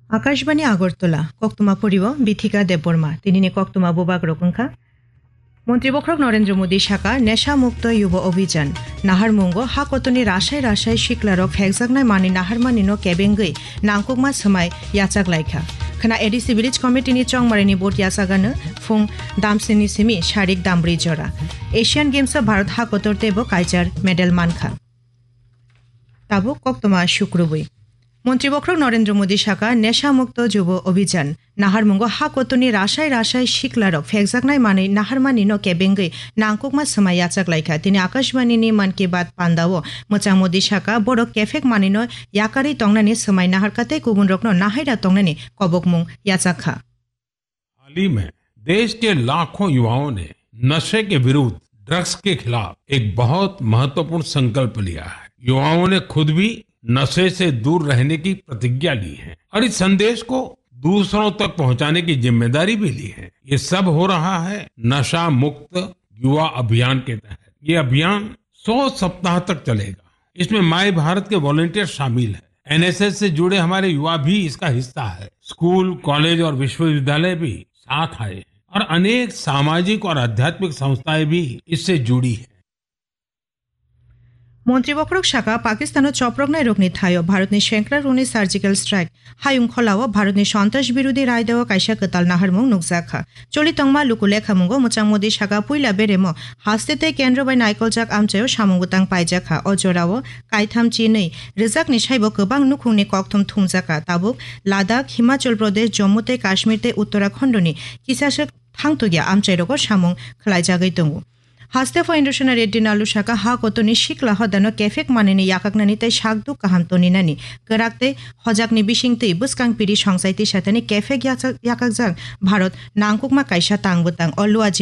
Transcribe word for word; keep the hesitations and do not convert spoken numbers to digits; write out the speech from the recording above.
Akashbani Agartala, koktwma poribo Bithika Debbarma, tinini koktwma bubak rok wngkha. Montri bokhorok Narendra Modi saka, Nesha Mukto Yuva Abhijan. Naharmungo ha kotorni rasai rasai siklarok phekjaknai manwi naharmanino kebengwi nangkukma swmai yachak laikha. Khna A D C Village Committee ni chongmarini board yachagano phung damsini simi sarik dambri jora. Asian Games o Bharat ha kotor teibo kaichar medal mankha. Tabuk koktwma sukrubwi. Montri bokhorok Narendra Modi saka, Nesha Mukto Yuva Abhijan. Naharmungo ha kotorni rasai rasai siklarok phekjaknai manwi naharmanino kebengwi nangkukma swmai yachak laikha. Tini Akashbani ni Mann Ki Baat pandao mwchang Modi saka, borok kephek manwino yakarwi tongnani swmai naharkha tei kubunrokno nahaira tongnani kobokmung yachakha. हाल ही में देश के लाखों युवाओं ने नशे के विरुद्ध, ड्रग्स के खिलाफ एक बहुत महत्वपूर्ण संकल्प लिया है। युवाओं ने खुद भी नशे से दूर रहने की प्रतिज्ञा ली है और इस संदेश को दूसरों तक पहुंचाने की जिम्मेदारी भी ली है। ये सब हो रहा है नशा मुक्त युवा अभियान के तहत। ये अभियान सौ सप्ताह तक चलेगा। इसमें माय भारत के वॉलंटियर शामिल हैं। एन एस एस से जुड़े हमारे युवा भी इसका हिस्सा है। स्कूल, कॉलेज और विश्वविद्यालय भी साथ आए और अनेक सामाजिक और आध्यात्मिक संस्थाएं भी इससे जुड़ी हैं। Montri bokhorok saka, Pakistano choproknai rokni thaio Bharatni sengkrakrokni surgical strike hayung kholao Bharatni sontrash birodhi raidao kaisa kwtal naharmung nukjakha. Choli tongma luku lekhamungo mwchang Modi saka, puila beremo haste tei kendro bai naikoljak amchaio samung bwtang paijakha. O jorao kaitham chinwi rwjakni saibo kwbang nukhungni kokthum thumjakha. Tabuk Ladakh, Himachal Pradesh, Jammu tei Kashmir tei Uttarakhandni kisaswk thangtokya amchairogo samung khwlaijagwi tongo. Haste pho Indrasena Reddy Nallu saka, ha kotorni sikla hodano kephek manwini yakaknani tei sakduk kaham toninani, kwrak tei hojakni bisingtwi bwskang piri songchai twi satani kephek yachak-, yakakjak Bharat nangkukma kaisa tang bwtang. O luaji